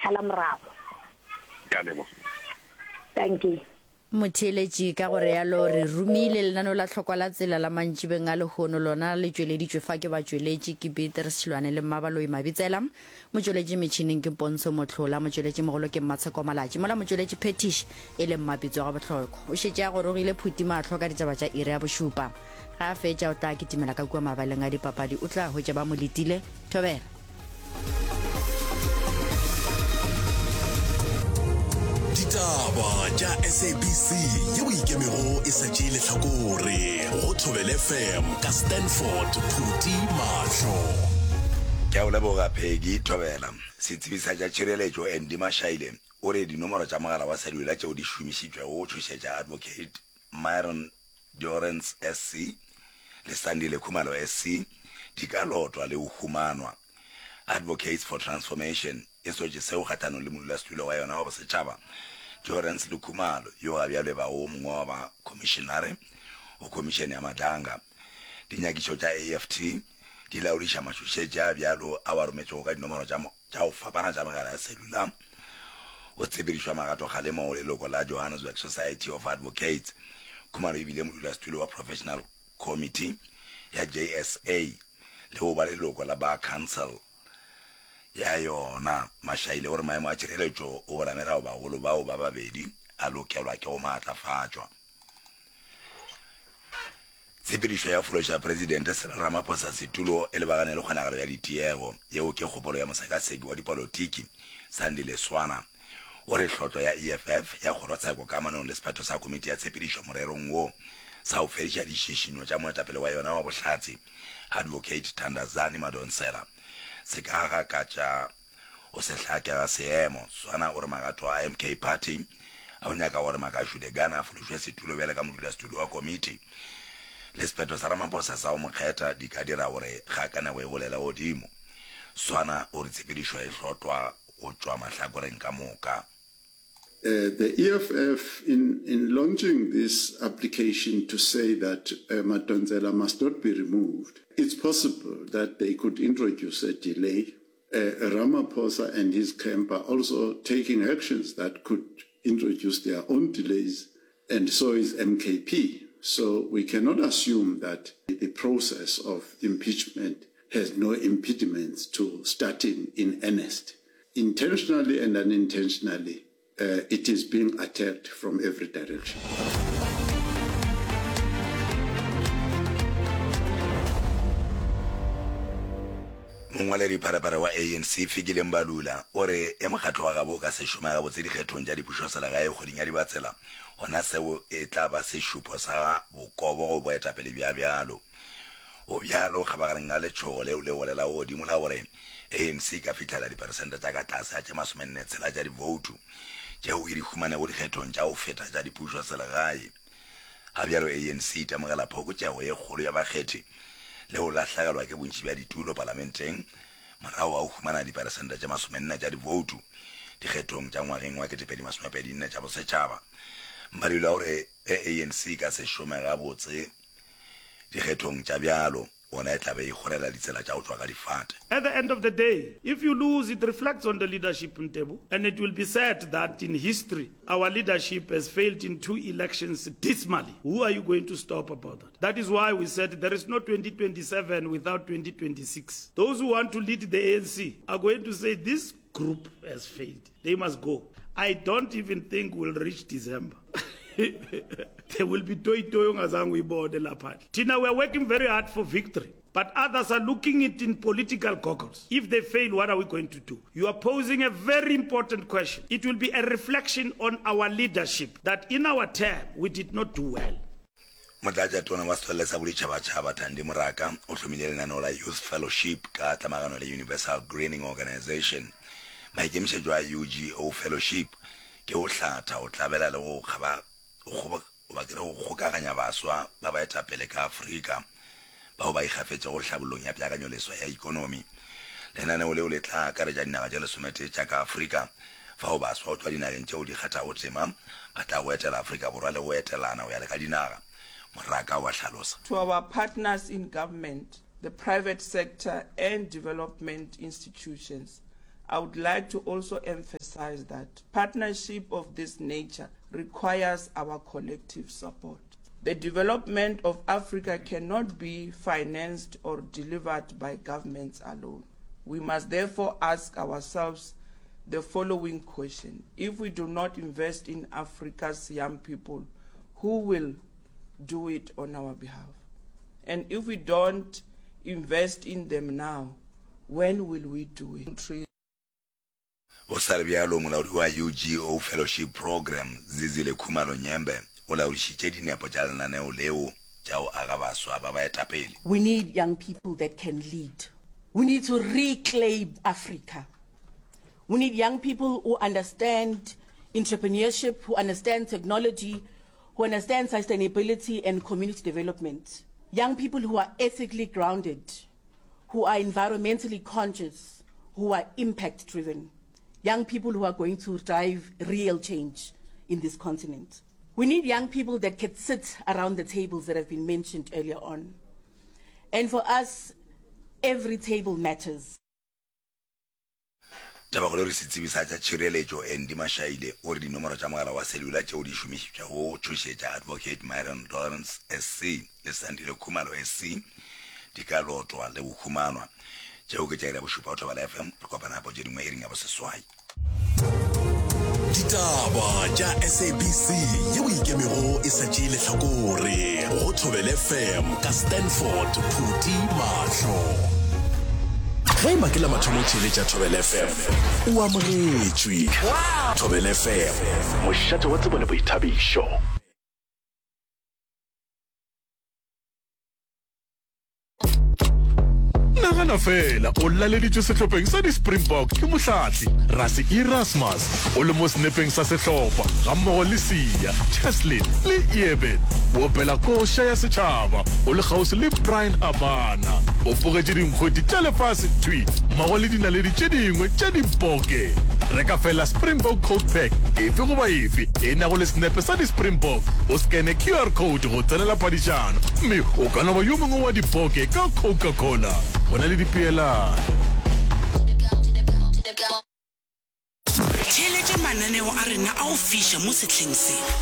tshala morago. Ke a leboga. Dankie. Motheeletši, ka go realo re romile lenaneo la Hlokwa la Tsela la mantšibeng a lehono. Lona le tšweleditšwe fa ke batšweletši ke Beatrice Šilwane le Mmabaloi Mabitsela. Motšweletši metšhineng ke Pontsho Mohlola, motšweletši mogolo ke Mmatsheko Malatši, mola motšweletši phethiši e le Mmapitso wa Gabohloko. O šetše a gorogile Phuti mahlo ka ditaba tša iri ya bošupa. Ge a fetša o tla kitimela ka kua mabaleng a dipapadi, o tla hwetša ba mo letile. Thobela. Ditaba tša SABC yeo ikemego e sa tšee lehlakore go Thobela FM ka Stanford Phuti Mahlo. Ke a go leboga Peggy Thobela. Setsebi sa tša tšhireletšo Andy Mashaile o re dinomoro tša mogala wa cellular tšeo di šomišitšwego go tšhošetša Advocate Myron Dorrance SC le Sandile Khumalo SC di ka lotwa le go humanwa. Advocates for Transformation e sotše seo kgahlanong le modulasetulo wa yona wa bosetšhaba Dorrance le Khumalo yo ga bjalo e bago wo mongwe wa bakhomišenare go Khomišene ya Madlanga. Dinyakišo tša AFT di laodiša matšhošetši a bjalo ao a rometšwego ka dinomoro tša tša go fapana tša megala ya cellular go tshepedišwa magatokgalemo go leloko la Johannesburg Society of Advocates. Khumalo e bile modulasetulo wa Professional Committee ya JSA le go ba leloko la Bar Council ya yona. Mashaile o re maemo a tšhireletšo go boramelao bagolo bao ba babedi a lokelwa ke go maatlafatšwa. Tshepedišo ya fološa Presidente Cyril Ramaphosa setulo e lebagane le kgonagalo ya ditiego. Yeo ke kgopolo ya mosekaseki wa dipolotiki Sandile Swana. O re hlotlo ya EFF ya kgorotsheko kamanong le sephetho sa komiti ya tshepedišo morerong wo sa go fediša dišišinyo tša moetapele wa yona wa bohlatse Advocate Thandazani Madonsela se ka gakatša Go se hlake ga seemo. Swana o re magato a MK Party a go nyaka gore Makashule Gana a fološwe setulo bjale ka modulasetulo wa komiti le sephetho sa Ramaphosa sa go mo kgetha di ka dira gore kgakanego e golele godimo. Swana o re tshepedišo e hlotwa go tšwa mahlakoreng ka moka. The EFF in in launching this application to say that Madonsela must not be removed, it's possible that they could introduce a delay. Ramaphosa and his camp are also taking actions that could introduce their own delays and so is MKP. So we cannot assume that the process of impeachment has no impediments to starting in earnest. Intentionally and unintentionally, uh, it is being attacked from every direction. Mongwaledipharephare wa ANC Fikile Mbalula o re e mokgatlo wa gabo o ka se šome gabotse dikgethong tša dipušoselegae kgweding ya Dibatsela, gona seo e tla ba sešupo sa bokobo go boetapele bja bjalo. Go bjalo kgabagareng ga letšhogo leo le golelago godimo la gore ANC e ka fihlela diperesente tša ka tlase ga tše masomenne-tshela tša divoutu tšeo e di humanego dikgethong tša go feta tša dipušoselegae. Ga bjalo ANC e itemogela phokotšego ye kgolo ya bakgethi le go lahlegelwa ke bontši bja ditulo palamenteng morago ga go humana diperesente tše masomenne tša divoutu dikgethong tša ngwageng wa 2024 tša bosetšhaba. Mbalula o re ge ANC e ka se šome gabotse Dikgethong tša bjalo, gona e tla be e kgorela ditsela tša go tšwa ka difate. At the end of the day, if you lose, it reflects on the leadership, Ntebu, and it will be said that in history, our leadership has failed in two elections dismally. Who are you going to stop about that? That is why we said there is no 2027 without 2026. Those who want to lead the ANC are going to say this group has failed. They must go. I don't even think we'll reach December. There will be toyi-toyi ongazange uyibone lapha. Thina we are working very hard for victory. But others are looking it in political goggles. If they fail, what are we going to do? You are posing a very important question. It will be a reflection on our leadership that in our term we did not do well. Motlatšatona wa Setswalle sa Boditšhabatšhaba Thandi Moraka o hlomile lenaneo la Youth Fellowship ka tlamagano le Universal Greening Organisation. Maikemišetšo a UGO Fellowship ke go hlatha, go tlabela le go kgaba, go goba ke re go kgokaganya baswa ba baetapele ka Afrika bao ba ikgafetšego hlabollong ya peakanyoleswa ya ikonomi. Lenaneo leo le tla akaretša dinaga tše lesometee tša ka Afrika fao baswa go tšwa dinageng tšeo di kgathago tema ba tlago etela Afrika Borwa le go etelana go ya le ka dinaga, Moraka wa hlalosa. To our partners in government, the private sector and development institutions, I would like to also emphasize that partnership of this nature requires our collective support. The development of Africa cannot be financed or delivered by governments alone. We must therefore ask ourselves the following question. If we do not invest in Africa's young people, who will do it on our behalf? And if we don't invest in them now, when will we do it? Go sa le bjalo, molaodi wa UGO Fellowship Programme, Zizile Khumalo Nyembe, o laodišitše dinepo tša lenaneo leo tša go aga baswa ba baetapele. We need young people that can lead. We need to reclaim Africa. We need young people who understand entrepreneurship, who understand technology, who understand sustainability and community development. Young people who are ethically grounded, who are environmentally conscious, who are impact driven. Young people who are going to drive real change in this continent. We need young people that can sit around the tables that have been mentioned earlier on. And for us, every table matters. Tabakgolo e re setsebi sa tša tšhireletšo Andy Mashaile o re dinomoro tša mogala wa cellular tšeo di šomišitšwego go tšhošetša Advocate Myron Lawrence SC le Sandile Khumalo SC di ka lotwa le go humanwa. Tšeo ke tša iri ya bošupa go Thobela FM. Re kopana gape tše dingwe iring ya boseswai. Ditaba tša SABC yeo ikemego e sa tšee lehlakore go Thobela FM ka Stanford Phuti Mahlo. Ge e ba ke la mathomo o theeletša Thobela FM, o amogetšwe. Thobela FM, mošate wa tsebo le boithabišo. Nagana feela o laleditšwe sehlopheng sa di-Springbok ke mohlahli Rassie Erasmus o le mo senepeng sa sehlopha gammogo le Siya, Cheslin le Eben. O opela koša ya setšhaba o le kgauswi le Bryan Habana. O bogetše dinkgwete tša lefase thwi mmogo le dinaledi tše dingwe tša diboke. Reka feela Springbok Coke Pack efe goba efe e nago le senepe sa di-Springbok, o skene QR code go tsenela phadišano mme o ka no ba yo mongwe wa diboke ka Coca-Cola. Go na le dipeelano. Theeletša mananeo a rena a go fiša mo sehleng se.